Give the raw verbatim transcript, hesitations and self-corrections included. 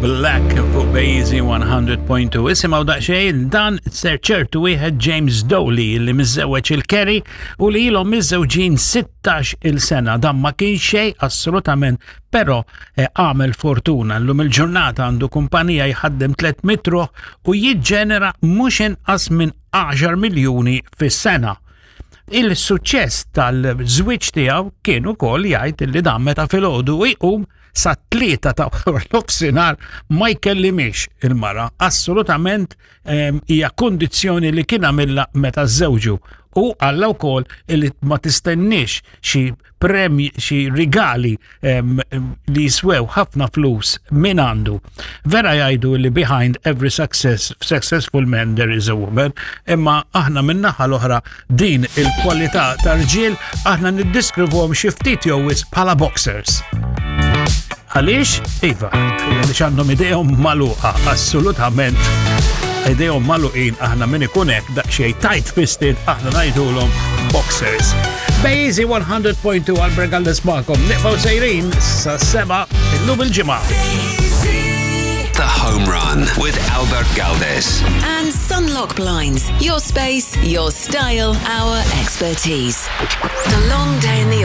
Black fuq BeEasy one hundred point two. Isimgħu daqsxejn dan ser ċertu wieħed James Doley li miżżewweġ il-Kerry u li ilhom miżżewġin sittax il sena. Dan ma kien xejn assolutament, però eh, għamel fortuna. Llum il-ġurnata għandu kumpanija, jħaddem tliet mitt ruħ u jiġġenera mhux inqas minn għaxar miljuni fis-sena. Il-suċċess tal-żwieġ tiegħu kien ukoll jgħid li dan meta filgħodu jqum sa tlieta ta' nofsinhar ma jkellimix il-mara. Assolutament hija kondizzjoni li kien għamilha meta żewġu. U qalilha wkoll li ma tistenniex xi premji, xi rigali em, li jiswew ħafna flus minn għandu. Vera jgħidu li behind every success, successful man there is a woman, imma aħna min-naħa l-oħra din il-kwalità tar-rġiel aħna niddeskrivuhom xi ftit jew wisq bħala boxers. Għaliex? Iva, għaliex għandhom idejhom magħluqa, assolutament. Idejhom magħluqin, aħna min ikun hekk daqsxejn tight fisted aħna ngħidulhom boxers. BeEasy one hundred point two, Albert Galdes magħkom, nibqgħu sejrin sa sebgħa illum il-Ġimgħa. The Home Run with Albert Galdes. And Sunlock Blinds. Your space, your style, our expertise. The long day in the